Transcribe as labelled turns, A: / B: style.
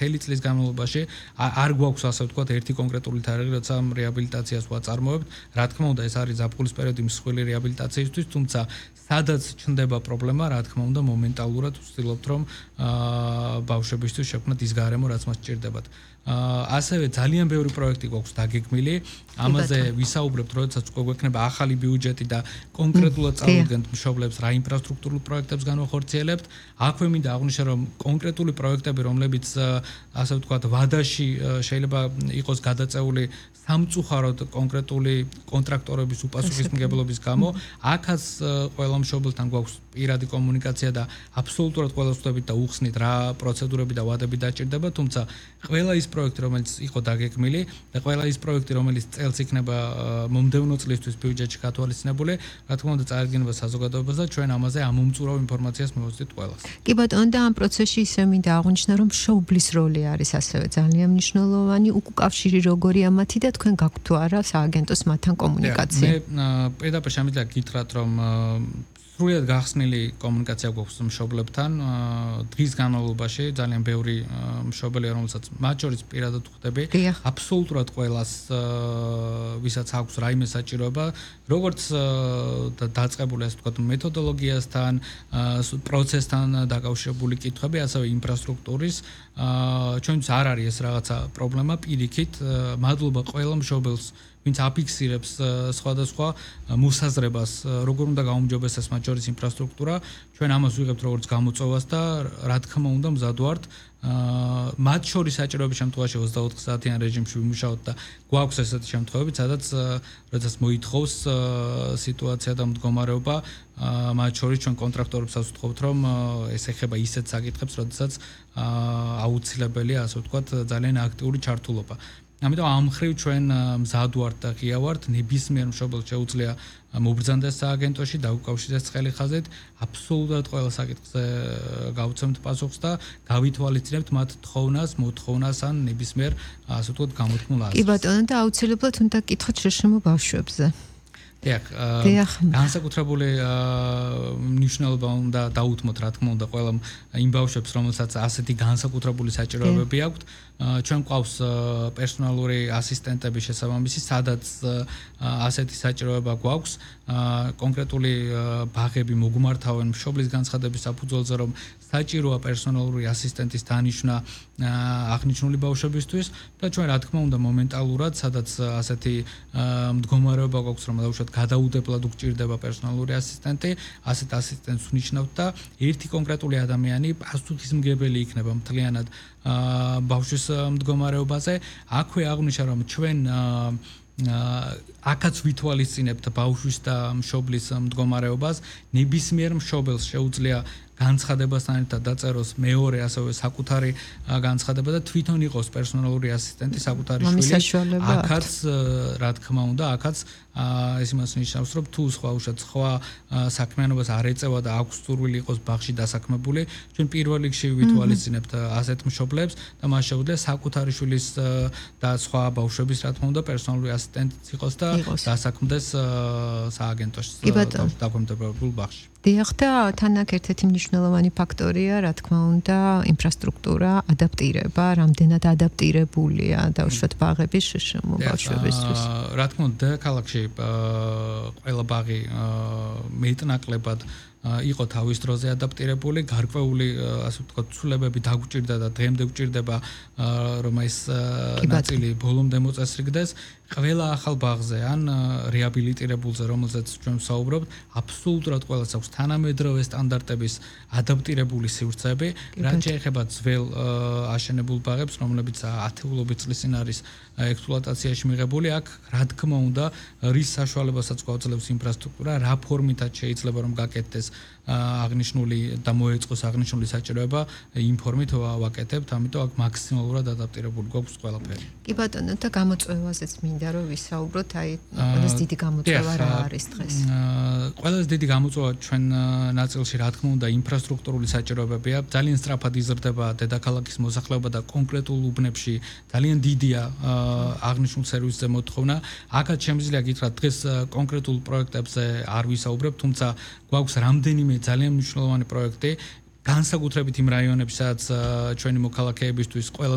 A: მთელი წლის განმავლობაში არ გვაქვს ასე ვთქვათ ერთი კონკრეტული თარიღი, როცა რეაბილიტაციას ვაწარმოებთ. რა თქმა უნდა, ეს არის ზაფხულის პერიოდი მსხვილი რეაბილიტაციისთვის, თუმცა სადაც ჩნდება პრობლემა, რა თქმა უნდა, მომენტალურად ვცდილობთ, რომ ბავშვებისთვის შექმნათ ის გარემო, რაც მას სჭირდებათ. ასევე ძალიან ბევრი პროექტი გვაქვს დაგეგმილი. ამაზე ვისაუბრებთ, როდესაც გვექნება ახალი ბიუჯეტი და კონკრეტულად წავიდგენთ მშობლებს რა ინფრასტრუქტურულ პროექტებს განვახორციელებთ. აქვე მინდა აღვნიშნო, რომ კონკრეტული პროექტები, რომლებიც ასე ვთქვათ, ვადაში შეიძლება იყოს გადაწეული სამწუხაროდ კონკრეტული კონტრაქტორების უპასუხისმგებლობის გამო, აქაც ყველა მშობელთან გვაქვს პირადი კომუნიკაცია და აბსოლუტურად ყველას ვხვდებით და უხსნით რა პროცედურები და ვადები დაჭირდება, თუმცა ყველა ის პროექტი, რომელიც იყო დაგეგმილი და ყველა ის პროექტი, რომელიც წელს იქნება მომდევნო წლისთვის ბიუჯეტში გათვალისწინებული, რა თქმა უნდა, წარდგენება საზოგადოებას და ჩვენ ამაზე ამომწურავ ინფორმაციას მივუწვდით ყველას.
B: კი ბატონო, და ამ პროცესში ისე მინდა აღვნიშნო, რომ მშობლის როლი არის ასევე ძალიან მნიშვნელოვანი, უკავშირი როგორია მათი და თქვენ გაქვთ თუ არა სააგენტოს მათთან კომუნიკაცია?
A: მე პირდაპირ შემიძლია გითხრათ, რომ სრულად გახსნილი კომუნიკაცია გვაქვს მშობლებთან. დღის განმავლობაში ძალიან ბევრი მშობელია, რომელსაც მათ შორის პირადად ვხვდები. აბსოლუტურად ყველას, ვისაც აქვს რაიმე საჭიროება, როგორც დაწყებული ასე ვთქვათ მეთოდოლოგიასთან, პროცესთან დაკავშირებული კითხვები, ასევე ინფრასტრუქტურის. ჩვენთვის არ არის ეს რაღაცა პრობლემა, პირიქით, მადლობა ყველა მშობელს, ვინც აფიქსირებს სხვადასხვა მოსაზრებას, როგორ უნდა გაუმჯობესდეს მათ შორის ინფრასტრუქტურა. ჩვენ ამას ვიღებთ როგორც გამოწვევას და რა თქმა უნდა მზად ვართ მათ შორის საჭიროების შემთხვევაში 24 საათიან რეჟიმში ვიმუშაოთ და გვაქვს ესეთი შემთხვევები, სადაც როდესაც მოითხოვს სიტუაცია და მდგომარეობა, მათ შორის ჩვენ კონტრაქტორებსაც ვთხოვთ, რომ ეს ეხება ისეთ საკითხებს, როდესაც აუცილებელია, ასე ვთქვათ, ძალიან აქტიური ჩართულობა. ამიტომ ამ მხრივ ჩვენ მზად ვართ და ღია ვართ, ნებისმიერ მშობელს შეუძლია მობრძანდეს სააგენტოში, დაუკავშირდეს ცხელი ხაზით, აბსოლუტურად ყველა საკითხზე გავცემთ პასუხს და გავითვალისწინებთ მათ თხოვნას, მოთხოვნას ან ნებისმიერ ასე ვთქვათ გამოთქმულ აზრს.
B: კი ბატონო, და აუცილებლად უნდა გკითხოთ შშმ ბავშვებზე.
A: დიახ, განსაკუთრებული მნიშვნელობა უნდა დაუთმოთ, რა თქმა უნდა, ყველა იმ ბავშვებს, რომელსაც ასეთი განსაკუთრებული საჭიროებები აქვთ. ჩვენ გვყავს პერსონალური ასისტენტები შესაბამისი, სადაც ასეთი საჭიროება გვაქვს. კონკრეტული ბაღები მოგმართავენ მშობლის განცხადების საფუძველზე, რომ საჭიროა პერსონალური ასისტენტის დანიშვნა აღნიშნული ბავშვებისთვის და ჩვენ რა თქმა უნდა მომენტალურად, სადაც ასეთი მდგომარეობა გვაქვს, რომ დაუშვათ გადაუდებლად უგჭირდება პერსონალური ასისტენტი, ასეთ ასისტენტს ვნიშნავთ და ერთი კონკრეტული ადამიანი პასუხისმგებელი იქნება მთლიანად ბავშვის მდგომარეობაზე. აქვე აღვნიშნა, რომ ჩვენ აქაც ვითვალისწინებთ ბავშვის და მშობლის მდგომარეობას, ნებისმიერ მშობელს შეუძლია განცხადებასთან ერთად დაწეროს მეორე ასევე საკუთარი განცხადება და თვითონ იყოს პერსონალური ასისტენტი საკუთარი შვილის. აქაც რა თქმა უნდა, აქაც ეს იმას ნიშნავს, რომ თუ სხვა საქმიანობას არ ეწევა და აქვს სურვილი იყოს ბაღში დასაქმებული, ჩვენ პირველ რიგში ვითვალისწინებთ ასეთ მშობლებს და მას შეუძლია საკუთარი შვილის და სხვა ბავშვების რა თქმა უნდა პერსონალური ასისტენტიც იყოს და დასაქმდეს სააგენტოში დაქვემდებარებულ ბაღში.
B: დიახ, და თან აქ ერთ-ერთი მნიშვნელოვანი ფაქტორია, რა თქმა უნდა, ინფრასტრუქტურა, ადაპტირება, რამდენად ადაპტირებულია დაუშვათ ბაღები შშმ ბავშვებისთვის.
A: რა თქმა უნდა, ქალაქში ყველა ბაღი მეტნაკლებად იყო თავის დროზე ადაპტირებული, გარკვეული ასე ვთქვათ, ცვლილებები დაგვჭირდა და დღემდე გვჭირდება, რომ ეს ნაწილი ბოლომდე მოწესრიგდეს. ყველა ახალ ბაღზე ან რეაბილიტირებულზე, რომელზეც ჩვენ ვსაუბრობთ, აბსოლუტურად ყველას აქვს თანამედროვე სტანდარტების ადაპტირებული სივრცეები, რაც შეეხება ძველ აშენებულ ბაღებს, რომლებიც ათეულობით წლის წინ არის ექსპლუატაციაში მიღებული, აქ რა თქმა უნდა, რის საშუალებასაც გვაძლევს ინფრასტრუქტურა, რა ფორმითაც შეიძლება რომ გაკეთდეს აღნიშნული და მოეწყოს აღნიშნული საჭიროება, იმ ფორმით ვაკეთებთ, ამიტომ აქ მაქსიმალურად ადაპტირებული გვაქვს ყველაფერი.
B: კი ბატონო, და გამოწვევაზეც მინდა რომ ვისაუბროთ, აი ყველაზე დიდი გამოწვევა რა არის დღეს?
A: ყველაზე დიდი გამოწვევა ჩვენ ნაწილში რა თქმა უნდა ინფრასტრუქტურული საჭიროებებია. ძალიან სწრაფად იზრდება დედაქალაქის მოსახლეობა და კონკრეტულ უბნებში ძალიან დიდია აღნიშნულ სერვისზე მოთხოვნა. აქაც შემიძლია გითხრათ, დღეს კონკრეტულ პროექტებზე არ ვისაუბრებ, თუმცა გვაქვს რამდენიმე ძალიან მნიშვნელოვანი პროექტი, განსაკუთრებით იმ რაიონებში, სადაც ჩვენი მოქალაქეებისთვის ყველა